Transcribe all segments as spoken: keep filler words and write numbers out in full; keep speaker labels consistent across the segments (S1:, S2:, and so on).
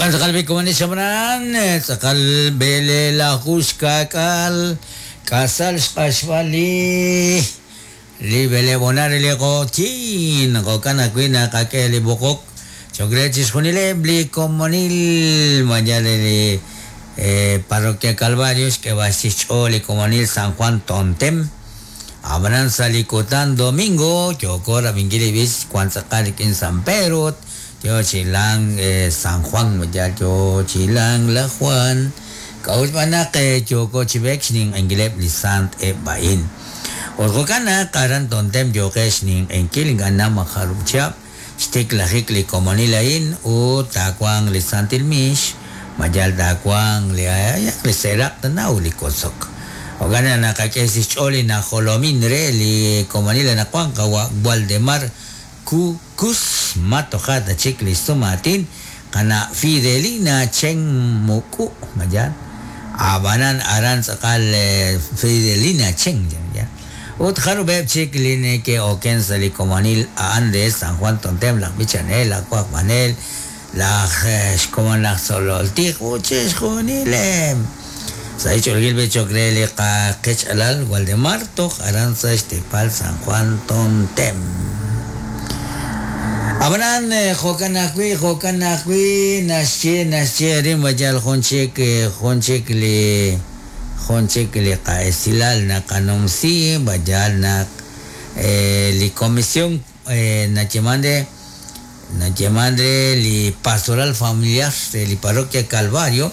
S1: Okan tz'aqal bi komonil xab'ran, tz'aqal b'eleelaju xka'k'aal, k'asal xq'axb'al li li b'eleeb'onar li q'oqyin, jo'kan ajwi' naqak'e li b'oqok cho'q re chixjunileb' li komonil mayal li eh, Parroquia Calvario xk'eb'al xch'ool li komonil San Juan Tontem. Ab'anan sa' li kutan domingo yooko rab'inkil li b'ich wan tz'aqal rik'in San Pedro, yo chilang eh, San Juan, mayal yo chilang la Juan. K'a'ut b'anaq eh, yooko chib'ek xninq'enkileb' li sant eb'a'in. Ut jo'kan naq aran Tontem yoqe xninq'enkil ink'a' majarub' chihab' xtiklajik li komonil a'in ut taawanq li santil miix, mayal taawanq li ayaq li seeraq tanaw li kosok. Jo'kan naq naqak'e sa xch'ool li najolomin re li komonil anaqwan qawa' Waldemar Kukus matoja ta chik li sumaatin qana' Fidelina Chen Muku mayal ab'anan aran tz'aqal eh, Fidelina Chen ya. Ut jarub'eb' chik li neke'oken sa' li komonil a'an de San Juan Tontem, laj b'ichanel, laj wajb'anel, laj eh, xkomon laj tzololtij ut chixjunileb'. Sa' ich'olgil b'e cho'q re li qaqech'alal Waldemar toj aran sa' xteepal San Juan Tontem. Ab'anan eh, jo'kan ajwi' jo'kan ajwi' naxye naxye rin mayal jun chik eh, jun chik li jun chik li qa'esilal naqanumsi mayal naq eh, li comisión eh, nayeman re nayeman re li pastoral familiar de li parroquia Calvario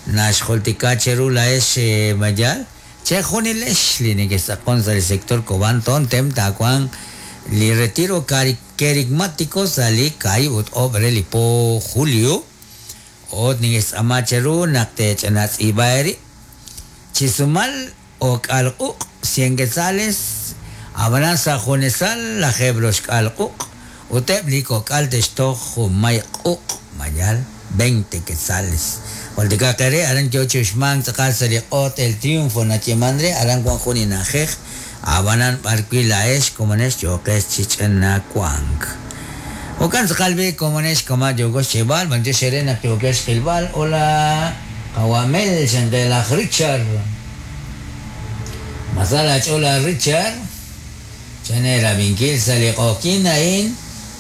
S1: naxjultika cheru laex eh, mayal che junilex li neke'saqon sa' li sector Cobán Tontem taawanq li retiro cari kerigmático sa' li kaahib' ut oob' re li po julio ut neke'xtz'aama cheru naq te'ch'anatz'iib'a eerib' chisumal ok'al q'uq' cien quetzales ab'anan sa' junesal lajeeb' roxk'al q'uq' ut eb' li kok'al te'xtoj junmay q'uq' mayal veinte quetzales. Jultika qere aran yo chi uxmank tz'aqal sa' li q'oot El Triunfo nayeman re aran wan jun ina'ajej ab'anan b'arwi' la'ex komonex yoqex chi ch'anawank. Jo'kan tz'aqal b'i komonex kama' yooko xcheb'al b'antiox ere naq yookex xqilb'al. Hola qawamel xanqe laj Richard. Masala ch'ola Richard. Chane rab'inkil sa' li q'oqyin a'in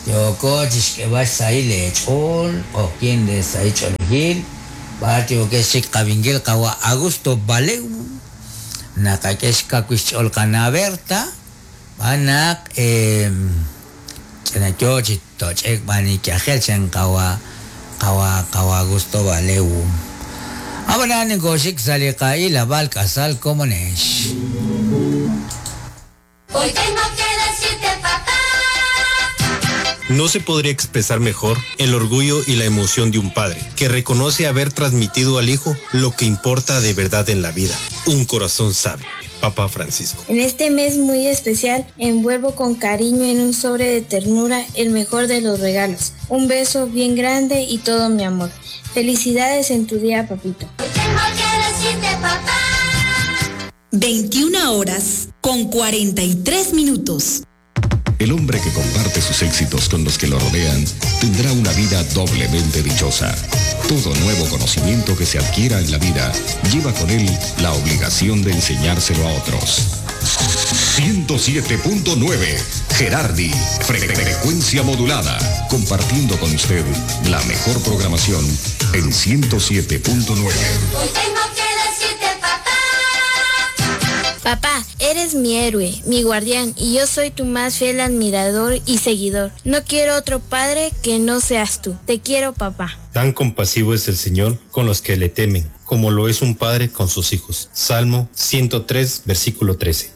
S1: yooko chi xk'eb'al xsahil leech'ool q'oqyin re sahil ch'oolejil b'ar yookex chik qab'inkil qawa' Augusto Baleu naqak'e xkawil xch'ool qana Berta b'anaq eh, ch'ina yo chi toch'ek b'an ikyajel chan qawa qawa qawa Augusto Baleu. Ab'anan ninkoxik sa' li qa'ilab'al k'asal komonex.
S2: Hoy tengo que decirte, papá.
S3: No se podría expresar mejor el orgullo y la emoción de un padre que reconoce haber transmitido al hijo lo que importa de verdad en la vida. Un corazón sabio. Papa Francisco.
S4: En este mes muy especial, envuelvo con cariño en un sobre de ternura el mejor de los regalos. Un beso bien grande y todo mi amor. Felicidades en tu día, papito.
S2: Hoy tengo que decirte, papá.
S5: veintiuna horas con cuarenta y tres minutos.
S6: El hombre que comparte sus éxitos con los que lo rodean tendrá una vida doblemente dichosa. Todo nuevo conocimiento que se adquiera en la vida lleva con él la obligación de enseñárselo a otros. ciento siete punto nueve Gerardi, frecuencia modulada, compartiendo con usted la mejor programación en ciento siete punto nueve.
S2: Hoy tengo que decirte, papá.
S4: Papá, eres mi héroe, mi guardián, y yo soy tu más fiel admirador y seguidor. No quiero otro padre que no seas tú. Te quiero, papá.
S3: Tan compasivo es el Señor con los que le temen, como lo es un padre con sus hijos. Salmo ciento tres, versículo trece.